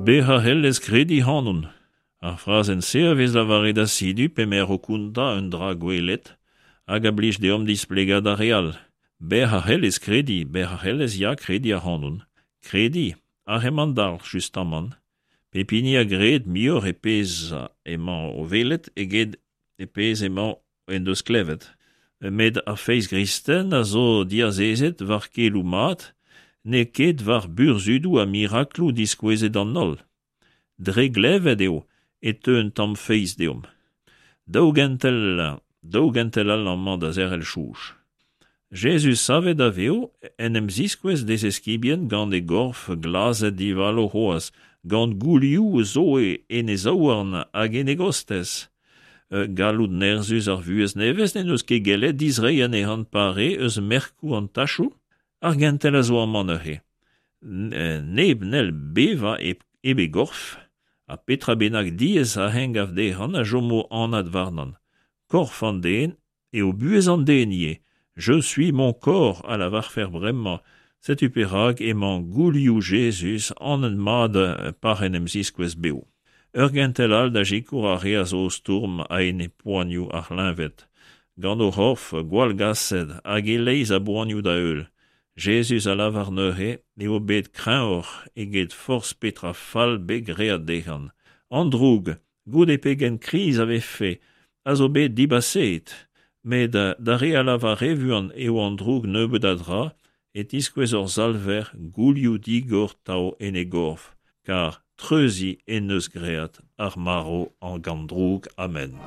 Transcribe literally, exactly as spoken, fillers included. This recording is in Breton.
Bezañ c'hellez krediñ ac'hanon. Ar frazenn-se a vez lavaret asidu p'emaer o kontañ un dra gwelet hag a blij deomp displegañ d'ar re all. Bezañ c'hellez krediñ, bezañ c'hellez ya krediñ ac'hanon. Krediñ, aze emañ an dalc'h justamant. Pep hini a gred muioc'h e pezh emañ o welet eget e pezh emañ en deus klevet. Met ar feiz gristen a zo diazezet war keloù mat, n'eo ket war burzhudoù ha mirakloù diskouezet d'an holl. Dre glevet eo e teu un tamm feiz deomp. Daou gentel, daou gentel all amañ da zerc'hel soñj. Jezuz savet da vev en em ziskouez d'e zeskibien gant e gorf glazet divalo c'hoazh, gant goulioù zo en e zaouarn hag en e gostez. Galloud nerzhus ar vuhez nevez n'en deus ket gellet dizreiñ anezhañ pare eus merkoù an tachoù. Ar gentel a zo amañ neuze. Neb n'hell bevañ hep e gorf, ha petra bennak diaes a eñ gav dezhañ a chomo anat warnañ. Korf an den eo buhez an den ivez. Je suis mon corps a lavarfer bremañ. Setu perak emañ goulioù Jezuz anat mat pa'c'h en em ziskouez bev. Ur gentel all da sikour ar re a zo o stourm a-enep poanioù ar c'hleñved. Gant o c'horf gwallgaset hag e-leizh a boanioù da heul. Jezuz a lavar neuze eo bet kreñvoc'h eget forzh petra fall bet graet dezhañ. An droug, goude pegen kriz a vefe, a zo bet dibaseet. Met d'ar re a lavar re vuan eo an droug nebeut a dra e tiskouez hor Salver goulioù digor 'tav en e gorf, kar treuziñ en deus graet ar marv hag an droug. Amen.